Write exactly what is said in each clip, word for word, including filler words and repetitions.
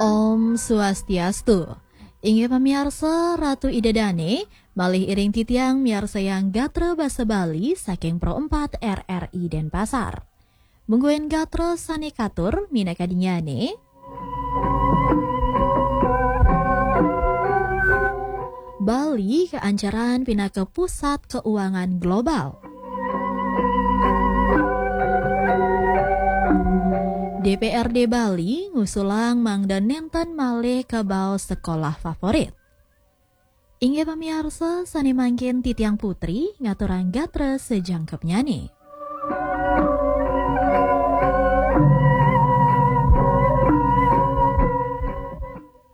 Om Swastiastu. Inggih pamiarsa, Ratu Ida Dane, malih iring titiang miarsayang gatra basa Bali saking Pro empat R R I Denpasar. Mungguing gatra sane katur minakadinnyane, Bali kaancaran pinaka pusat keuangan global. D P R D Bali ngusulang mangda nenten malih kabaos sekolah favorit. Inggih pamiarsa, sane mangkin titiang Putri ngaturang gatra sajangkepnyane.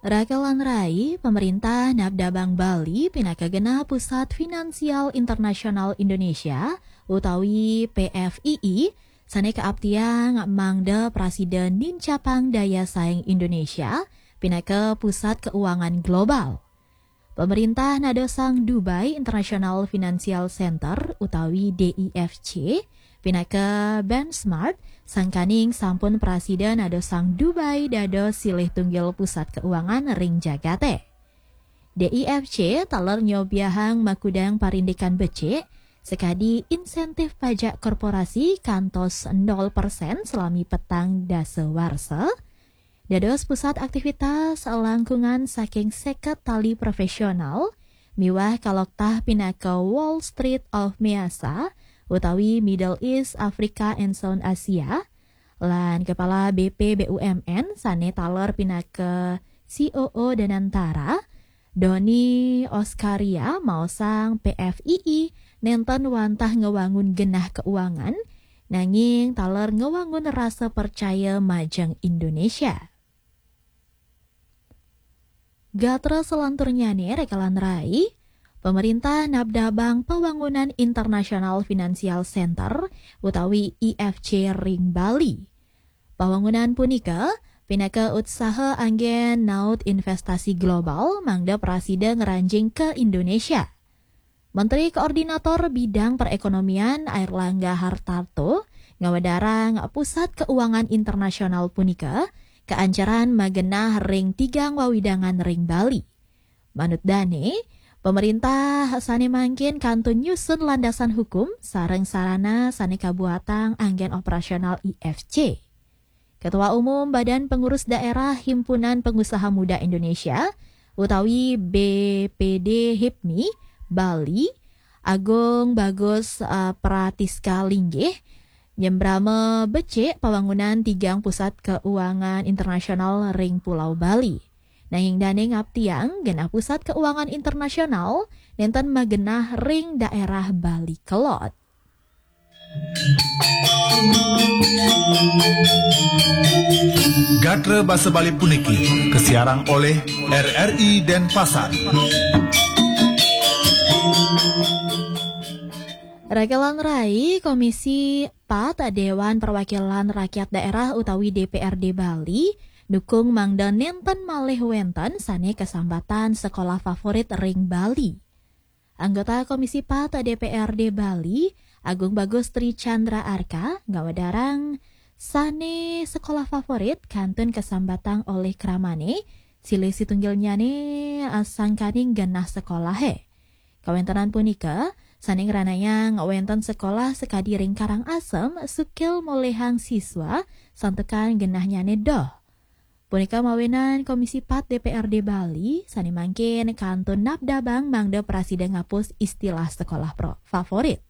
Raka lan rai, pamarintah nabdabang Bali pinaka genah Pusat Finansial Internasional Indonesia utawi P F I I, sane kaaptiang mangda prasida nincapang daya saing Indonesia pinaka pusat keuangan global. Pamarintah nadosang Dubai International Financial Center utawi D I F C pinaka benchmark, sangkaning sampun prasida nadosang Dubai dados silih tunggil pusat keuangan ring jagate. D I F C taler nyobiahang makudang parindikan becik, sakadi insentif pajak korporasi kantos nol persen salami petang dasa warsa, dados pusat aktivitas langkungan saking seket tali profesional miwah kaloktah pinaka Wall Street of Measa utawi Middle East, Africa, and South Asia, lan Kepala B P B U M N sane taler pinaka C O O Danantara, Doni Oskaria maosang P F I I nenten wantah ngewangun genah keuangan, nanging taler ngewangun rasa percaya majeng Indonesia. Gatra salanturnyane raka lan rai, pamarintah nabdabang pawangunan International Financial Center utawi I F C ring Bali. Pawangunan punika pinaka utsaha anggen naut investasi global mangda prasida ngranjing ka Indonesia. Menteri Koordinator Bidang Perekonomian Airlangga Hartarto ngawedarang pusat keuangan internasional punika kaancaran magenah ring tigang wawidangan ring Bali. Manut dane, pamarintah sane mangkin kantun nyusun landasan hukum sareng sarana sane kabuatang anggen operasional I F C. Ketua Umum Badan Pengurus Daerah Himpunan Pengusaha Muda Indonesia utawi B P D hipmi Bali, Agung Bagus, eh, Pratiska linggih nyembrama becik pawangunan tigang pusat keuangan internasional ring Pulau Bali. Nanging dane ngaptiang genah pusat keuangan internasional nenten magenah ring daerah Bali kelod. Gatra basa Bali puniki kasiarang olih R R I Denpasar. Raka lan rai, Komisi Pat Dewan Perwakilan Rakyat Daerah utawi D P R D Bali dukung mangda nenten malih wenten sane kasambatan sekolah favorit ring Bali. Anggota Komisi Pat D P R D Bali, Agung Bagus Tri Chandra Arka, ngawedarang sane sekolah favorit kantun kasambatang olih kramane, silih situnggilnyane, eh, sangkaning genah sekolahe. Kawentenan punika sane ngranayang wenten sekolah sakadi ring Karangasem sukil molihang siswa santukan genahnyane doh. Punika mawinan Komisi Pat D P R D Bali sane mangkin kantun nabdabang mangda prasida ngapus istilah sekolah pro-, favorit.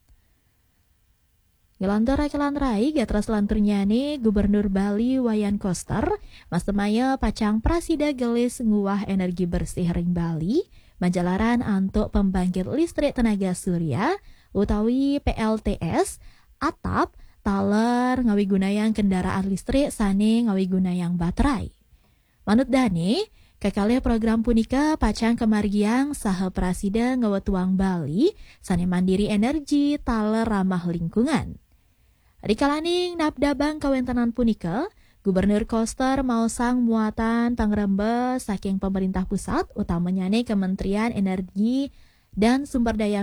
Ngelantur raka lan rai, gatra salanturnyane, Gubernur Bali Wayan Koster mastemaya pacang prasida gelis nguwah energi bersih ring Bali, majalaran antuk pembangkit listrik tenaga surya utawi P L T S atap taler ngawigunayang kendaraan listrik sane ngawigunayang baterai. Manut dane, kekalih program punika pacang kamargiang saha prasida ngwetuang Bali sane mandiri energi taler ramah lingkungan. Rikalaning nabdabang kawentenan punika, Gubernur Koster maosang muatan pangrembes saking pemerintah pusat, utamanyane Kementerian Energi dan Sumber Daya